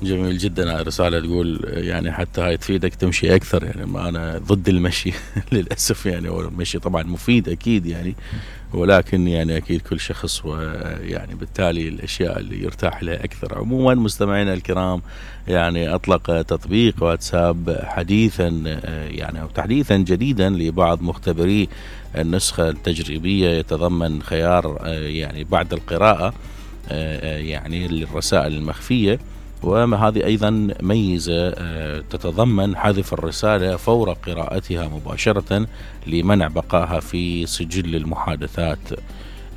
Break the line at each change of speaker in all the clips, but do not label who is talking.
جميل جدا. هاي الرسالة تقول يعني حتى هاي تفيدك تمشي أكثر، يعني ما أنا ضد المشي للأسف يعني، والمشي طبعا مفيد أكيد يعني، ولكن يعني أكيد كل شخص ويعني بالتالي الأشياء اللي يرتاح لها أكثر. عموما مستمعينا الكرام، يعني أطلق تطبيق واتساب حديثا يعني أو تحديثا جديدا لبعض مختبري النسخة التجريبية، يتضمن خيار يعني بعد القراءة يعني للرسائل المخفية، وهذه أيضا ميزة تتضمن حذف الرسالة فور قراءتها مباشرة لمنع بقائها في سجل المحادثات.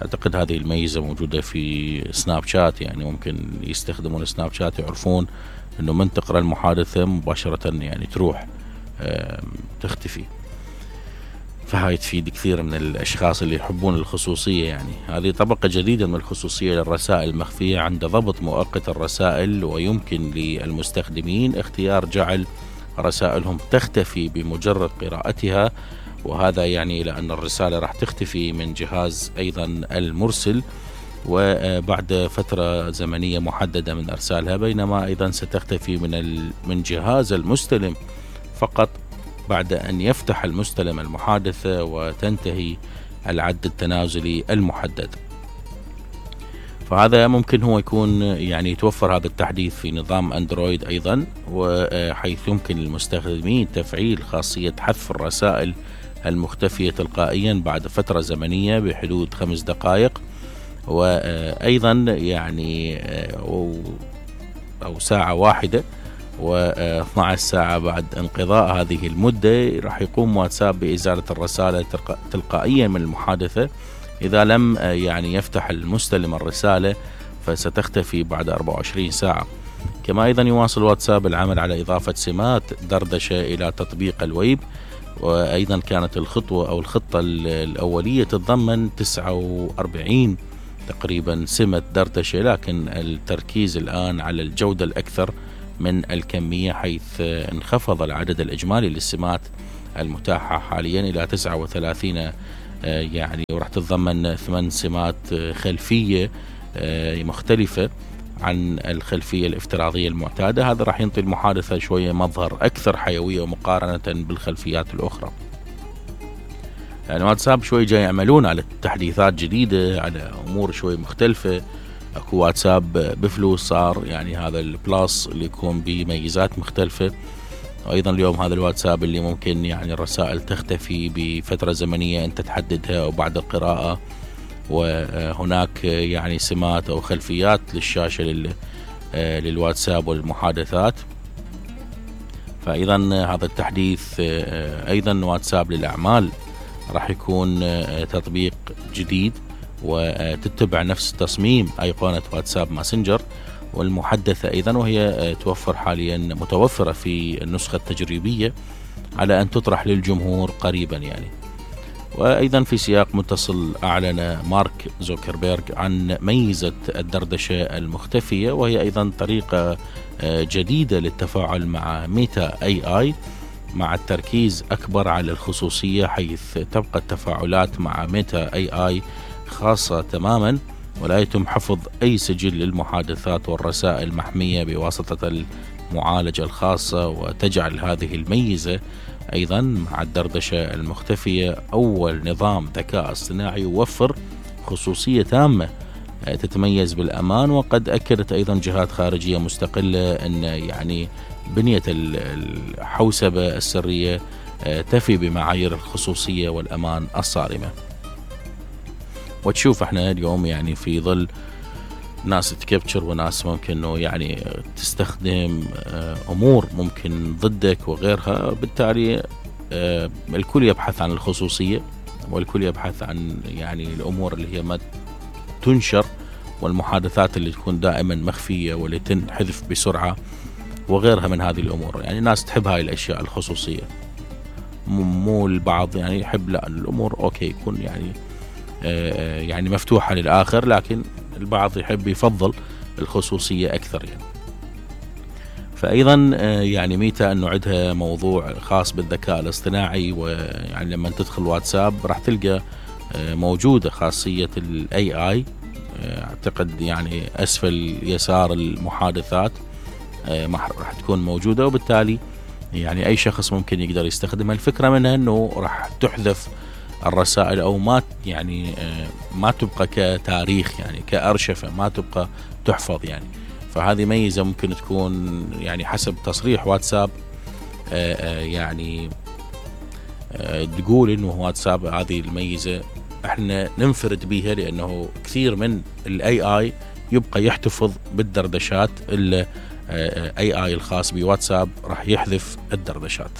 أعتقد هذه الميزة موجودة في سناب شات، يعني ممكن يستخدمون سناب شات يعرفون أنه من تقرأ المحادثة مباشرة يعني تروح تختفي. فهاي تفيد كثير من الأشخاص اللي يحبون الخصوصية. يعني هذه طبقة جديدة من الخصوصية للرسائل المخفية عند ضبط مؤقت الرسائل، ويمكن للمستخدمين اختيار جعل رسائلهم تختفي بمجرد قراءتها، وهذا يعني لأن الرسالة راح تختفي من جهاز أيضا المرسل وبعد فترة زمنية محددة من إرسالها، بينما أيضا ستختفي من جهاز المستلم فقط بعد أن يفتح المستلم المحادثة وتنتهي العد التنازلي المحدد. فهذا ممكن هو يكون يعني يتوفر هذا التحديث في نظام أندرويد أيضا، وحيث يمكن للمستخدمين تفعيل خاصية حذف الرسائل المختفية تلقائيا بعد فترة زمنية بحدود 5 دقائق، وأيضا يعني أو ساعة واحدة و12 ساعة بعد انقضاء هذه المدة راح يقوم واتساب بإزالة الرسالة تلقائيا من المحادثة. إذا لم يعني يفتح المستلم الرسالة فستختفي بعد 24 ساعة. كما أيضا يواصل واتساب العمل على إضافة سمات دردشة إلى تطبيق الويب، وأيضا كانت الخطوة أو الخطة الأولية تتضمن 49 تقريبا سمة دردشة، لكن التركيز الآن على الجودة الأكثر من الكمية، حيث انخفض العدد الإجمالي للسمات المتاحة حاليا إلى 39 يعني، وراح تتضمن 8 سمات خلفية مختلفة عن الخلفية الافتراضية المعتادة. هذا راح ينطي المحادثة شوية مظهر أكثر حيوية مقارنة بالخلفيات الأخرى. يعني واتساب شوي جاي يعملون على تحديثات جديدة على أمور شوي مختلفة. اكو واتساب بفلوس صار، يعني هذا البلاس اللي يكون بميزات مختلفة، وايضا اليوم هذا الواتساب اللي ممكن يعني الرسائل تختفي بفترة زمنية انت تحددها او بعد القراءة، وهناك يعني سمات او خلفيات للشاشة للواتساب والمحادثات. فايضا هذا التحديث ايضا واتساب للاعمال راح يكون تطبيق جديد وتتبع نفس تصميم أيقونة واتساب ماسنجر والمحدثة أيضا، وهي توفر حاليا متوفرة في النسخة التجريبية على أن تطرح للجمهور قريبا يعني. وأيضا في سياق متصل أعلن مارك زوكربيرغ عن ميزة الدردشة المختفية، وهي أيضا طريقة جديدة للتفاعل مع ميتا AI مع التركيز أكبر على الخصوصية، حيث تبقى التفاعلات مع ميتا AI خاصة تماما، ولا يتم حفظ أي سجل للمحادثات والرسائل محمية بواسطة المعالجة الخاصة، وتجعل هذه الميزة أيضا مع الدردشة المختفية أول نظام ذكاء اصطناعي يوفر خصوصية تامة تتميز بالأمان. وقد أكدت أيضا جهات خارجية مستقلة أن يعني بنية الحوسبة السرية تفي بمعايير الخصوصية والأمان الصارمة. وتشوف احنا اليوم يعني في ظل ناس تكبتشر وناس ممكن انه يعني تستخدم امور ممكن ضدك وغيرها، بالتالي الكل يبحث عن الخصوصية، والكل يبحث عن يعني الامور اللي هي ما تنشر، والمحادثات اللي تكون دائما مخفية واللي تنحذف بسرعة وغيرها من هذه الامور. يعني الناس تحب هاي الاشياء الخصوصية، مو البعض يعني يحب لا الامور اوكي يكون يعني مفتوحة للآخر، لكن البعض يحب يفضل الخصوصية أكثر يعني. فأيضا يعني ميتا أنه عندها موضوع خاص بالذكاء الاصطناعي، ويعني لما تدخل واتساب راح تلقى موجودة خاصية ال AI أعتقد يعني أسفل يسار المحادثات ما راح تكون موجودة، وبالتالي يعني أي شخص ممكن يقدر يستخدمها. الفكرة منها أنه راح تحذف الرسائل أو ما يعني ما تبقى كتاريخ، يعني كأرشفة ما تبقى تحفظ يعني. فهذه ميزة ممكن تكون يعني حسب تصريح واتساب يعني تقول انه واتساب هذه الميزة احنا ننفرد بيها، لانه كثير من الاي اي يبقى يحتفظ بالدردشات. الاي اي الخاص بواتساب راح يحذف الدردشات.